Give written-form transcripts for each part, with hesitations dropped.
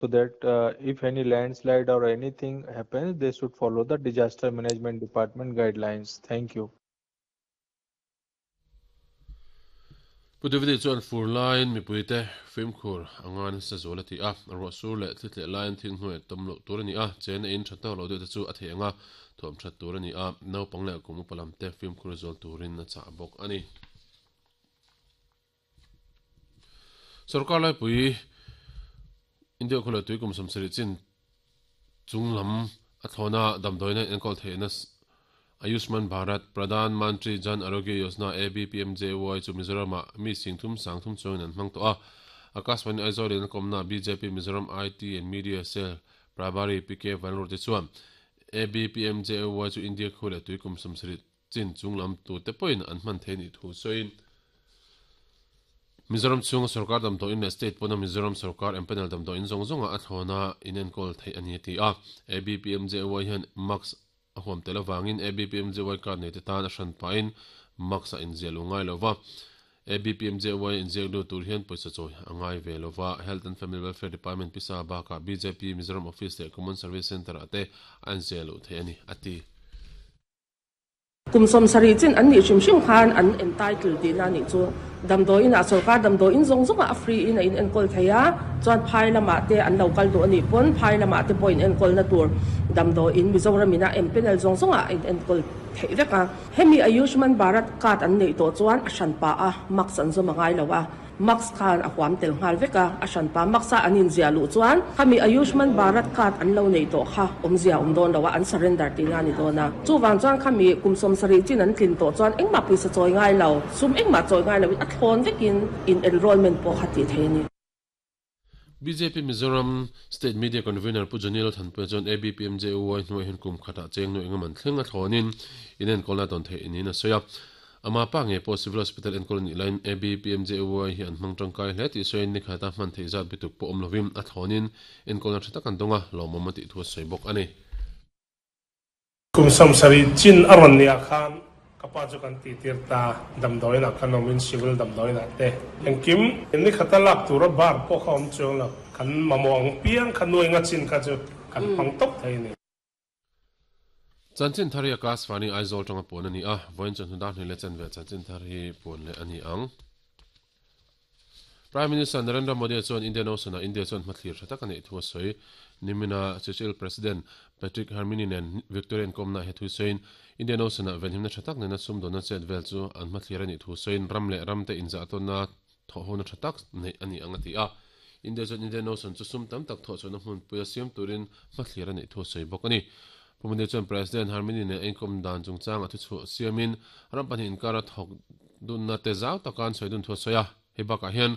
So that if any landslide or anything happens, they should follow the disaster management department guidelines. Thank you. Pu Davide chuan fur laiin mipuite fimkhur a ngai nasa zual a ti a, ruah sur leh thli tleh laiin thil hnuai tawm loh tur a ni a, chen a in tha tawk loh deuh te chu a theih ang a, thuam that tur a ni a, naupang leh kum upa lam te fimkhur zual turin a chah bawk a ni. Sorkar laipui India khawleh tui kum 70 chin chung lam a thlawna damdawiina enkawl theihna Ayushman Bharat Pradhan Mantri Jan Arogya Yojana ABPMJY chu Mizoram-ah mi singthum sangthum chuangin an hmang tawh a. Akashvani Aizawl in a kawmna bjp Mizoram IT and Media Cell Prabhari PK Vanlawrte chuan ABPMJY chu India khawleh tui kum 70 chin chung lam tute pawhin an hman thei nih thu sawiin Mizoram chhunga sorkar damdawiin leh state pawna Mizoram sorkar empanel damdawiin zawng zawnga a thlawna inenkawl theih a ni a ti a. ABPMJY hian mask a huam tel avangin ABPMJY card neite tan a hran pahin mask a inziah lo ngai lo va. ABPMJY a inziak lut tur hian pawisa chawi a ngai ve lo va. Health and Family Welfare Department pisa bakah bjp Mizoram Office leh Common Service Centre-ah te a inziah loh theih a ni a ti. Kum 70 chin an nih hrim hrim khan an entitle tihna a nih chu. Damdawiin ah sorkar damdawiin zawng zawng ah a free in a in enkawl thei a, chuan phai lamah te an lo kal duh a nih pawn phai lamah te pawh in enkawlna tur damdawiin Mizoram in a empanel zawng zawng ah a in enkawl theih vek a. Hemi Ayushman Bharat card an neih tawh chuan a hranpa a mask an zawm a ngai lo a. Mask khan a huam tel nghal vek a, a hranpa mask a an inziah luh chuan khami Ayushman Bharat card an lo neih tawh kha awmzia awm dawn lo a, an surrender tihna a ni dawn a. Chuvang chuan khami kum 70 chin an tlin tawh chuan engmah pawisa chawi ngai lo, sum engmah chawi ngai loin a thlawn vekin in enrollment pawh kha tih thei a ni. Bjp Mizoram State Media Convener Pu Johnny Lalthanpuia chuan ABPMJUY hnuaiah hian kum khatah cheng nuaih engaman thleng a thlawnin inenkawlna a tawn theih niin a sawi a. Ama pa ngei pawh Civil Hospital enkawl a nih laiin ABPMJUY hi an hmang tangkai hle tih sawiin nikhata hman theih zat bituk pawh awm lovin a thlawnin enkawlna tha tak an dawng a, lawmawm a tih thu a sawi bawk a ni. Kum 70 chin a rawn nih ah khan ka pa chu kan tih tir ta, damdawiin ah khan awmin civil damdawiin ah te engkim nikhata lak tura bar pawh kha awm chuang lo, kan mamawh ang piang kha nuai nga chin kha chu kan hmang tawp thei a ni. Chanchin thar hi a class fani Aizawl tanga puan a ni a, vawiin chawhnu dar hnih leh chanve chanchin thar hi puan leh a ni ang. Prime Minister Narendra Modi chuan Indian Ocean-ah India chuan hmathlir tha tak a neih thu a sawi. Nimina Seychelles President Patrick Herminie nen Victoria inkawmnaah he thu sawiin, Indian Ocean-ah venhimna tha tak nena sumdawnna chet vel chu an hmathlir a nih thu sawiin ram leh ramte inzahtawnna thawhhona tha tak neih a ni ang a ti a. India chuan Indian Ocean chu sum tam tak thawhchhuahna hmunpuia siam turin hmathlir a neih thu a sawi bawk a ni. Pu Modi chuan President Herminie nen a inkawm dan chungchang a thuchhuah siamin ram pahnih inkara thawk Dunna te zau taka an sawi dun thu a sawi a, hei bakah hian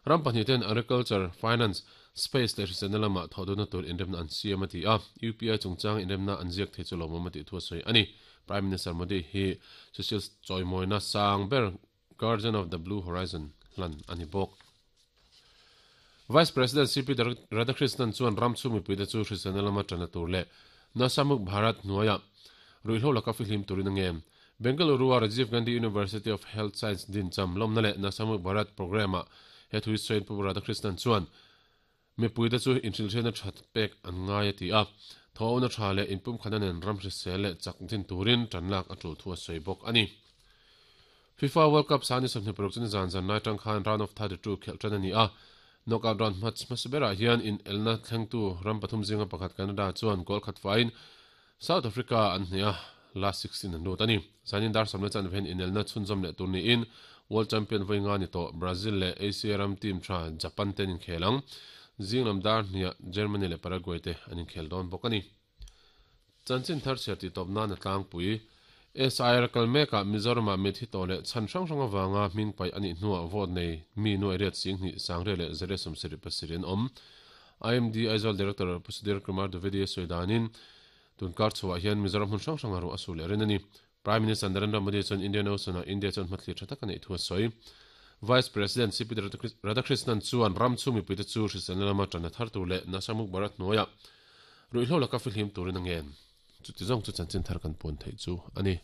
ram pahnih ten agriculture, finance, space leh hriselna lamah thawh dunna tur inremna an siam a ti a, UPI chungchang inremna an ziak thei chu lawmawm a tih thu a sawi a ni. Prime Minister Modi hi Seychelles chawimawina sang ber Guardian of the Blue Horizon hlan a ni bawk. Vice President CP Radhakrishnan chuan ram chhung mipuite chu hriselna lama tanna tur leh Nasamuk Bharat hnuaiah ruihhlo laka fihlim turin a ngen. Bengaluru-a Rajiv Gandhi University of Health Science dincham lawmna leh Nasamuk Bharat programme-ah he thu hi sawiin Pu Radhakrishnan chuan mipuite chu inhrilhriatna tha pek an ngai a ti a, thawhna tha leh inpumkhatna nen ram hrisel leh chak din turin tanlak a tul thu a sawi bawk a ni. FIFA World Cup sang ni 26 chu nizan zan lai tang khan round of 32 khelh tan a ni a, knockout round hmasa berah hian inelna thlengtu ram pathum zinga pakhat Canada chuan goal khat faiin South Africa an hneh a, last 16 an lut a ni. Zanin dar sawmna chanve hian inelna chhunzawm leh tur niin World Champion vawi nga ni tawh Brazil leh Asia ram team tha Japan te an inkhel ang. Zing lam dar hniah Germany leh Paraguay te an inkhel dawn bawk a ni. Chanchin thar chhiar tih tawp nan a tlangpui. SIR kal mekah Mizoramah mit hi tawh leh chhan hrang hrang avanga hming paih a nih hnuah vote nei mi nuai riat 2000 sangriat leh zariat 77 an awm. IMD Aizawl Director Pu Sudhir Kumar Dwivedi a sawi danin tunkar chhuah hian Mizoram hmun hrang hranga ruah a su leh rin a ni. Prime Minister Narendra Modi chuan Indian Ocean-ah India chuan hmathlir tha tak a neih thu a sawi. Vice President CP Radhakrishnan chuan ram chhung mipuite chu hriselna lama tanna thar tur leh Nasha Mukht Bharat hnuaiah ruihhlo laka fihlim turin a ngen. Chuti zawng chu chanchin thar kan puan theih chu a ni.